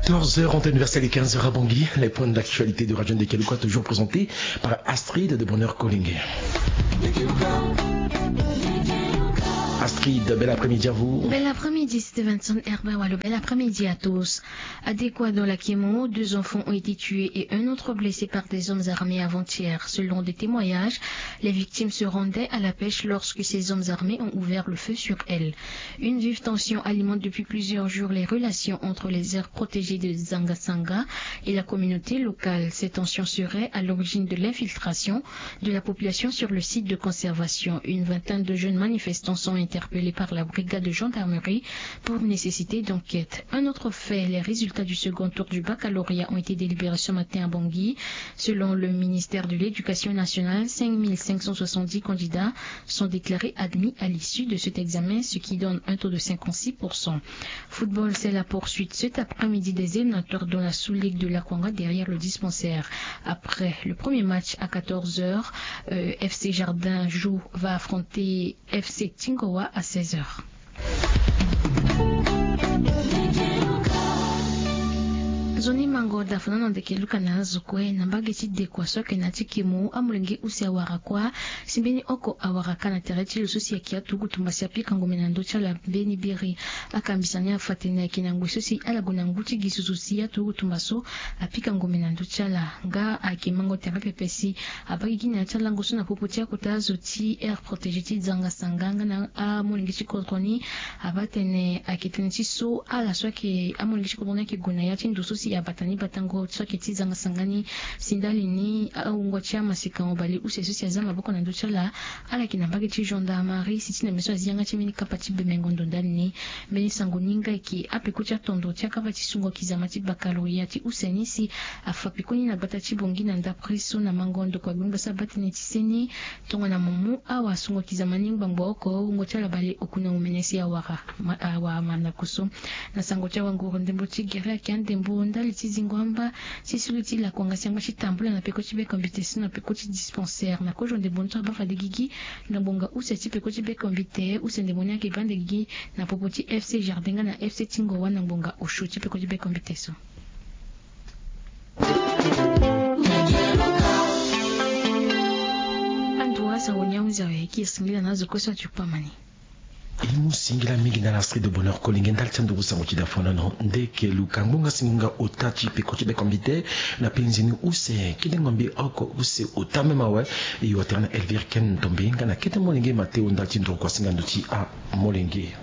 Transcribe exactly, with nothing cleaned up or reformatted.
Quatorze heures en temps universel et quinze heures à Bangui. Les points d'actualité de Radio Ndekeluka, toujours présentés par Astrid de Bonheur Kolingué. Astrid, bel après-midi à vous. Bel après-midi, Stevenson Herbert Walo. Bel après-midi à tous. À Dekwa, dans la Kemo, deux enfants ont été tués et un autre blessé par des hommes armés avant-hier. Selon des témoignages, les victimes se rendaient à la pêche lorsque ces hommes armés ont ouvert le feu sur elles. Une vive tension alimente depuis plusieurs jours les relations entre les aires protégées de Zangasanga et la communauté locale. Ces tensions seraient à l'origine de l'infiltration de la population sur le site de conservation. Une vingtaine de jeunes manifestants sont interpellés par la brigade de gendarmerie pour nécessité d'enquête. Un autre fait, les résultats du second tour du baccalauréat ont été délibérés ce matin à Bangui. Selon le ministère de l'Éducation nationale, cinq mille cinq cent soixante-dix candidats sont déclarés admis à l'issue de cet examen, ce qui donne un taux de cinquante-six pour cent. Football, c'est la poursuite cet après-midi des éliminatoires dans la sous-ligue de la Kwanga derrière le dispensaire. Après le premier match à quatorze heures, euh, F C Jardin joue, va affronter F C Tingoa à seize heures. Nzoni mango da fana na ndeke luka na azo kue na mbage ti Dekwa so ayeke na ya ti Kemo, amolenge use awara kuâ si mbeni oko awara ka na tere ti lo so si ayeke aturugu tumba si apika ngombe na ndö ti ala mbeni biri. Akambisa ni afa tene ayeke na ngoi so si ala gue na ngu ti gi susu si aturugu tumba so apika ngombe na ndö ti ala. Nga ayeke mango tere pepe si abaa gigi na ya ti alango so na popo ti akota azo ti aire protégée ti Zangasanga nga na amolenge ti kodro ni. Abaa tene ayeke tënë ti so ala so ayeke amolenge ti kodro ni ayeke gue na ya ti ndo so si abata ni batango so ayeke ti Zangasanga ni. Si ndali ni awungo ti amaseka mobale use so si aza maboko na ndö ti ala, ala yeke na mbage ti gendarmerie si ti na meso azi yanga ti mbeni kapa ti bemengo ndo ndali ni. Mbeni sango ni nga ayeke apeko ti atondo ti akapa ti sungo kizama ti baccalauréat ti use ni si afa pekoni na gbata ti Bangui na ndapre so na mango ndokua gbengba so abaa tënë ti seni. Tongana mo mu awasungo kizama ni ngbangbo oko, wungo ti ala bale oku na omene si awara ma- awara mandako so. Na sango ti awanguru ndembo ti gere ayeke andembo ndali ti zingo amba ti sulu ti lakuanga si angba ti tambula na peko ti bekombite so na peko ti dispensaire na kozo ndembo ni so abaa fade gigi na ngbonga use ti peko ti bekombite. Use ndembo ni ayeke baa nde gigi na popo ti F C Jardin nga na F C Tingoa na ngbonga osio ti peko ti bekombite so. Ando wa sango ni ahunzi awe ki singila na azo kue so ati kpama ni. E mu singila mingi na la Astrid de Bonheur Kolingué ndali ti anduru sango ti da fondano. Ndeke luka ngbonga singo nga ota ti peko ti bekombite na penzi ni use kidengombi oko use ota même awe. E yo atene na Elvire Ken Ndombe nga na kete molenge Mateo ndali ti nduru kua singa ndo ti amolenge.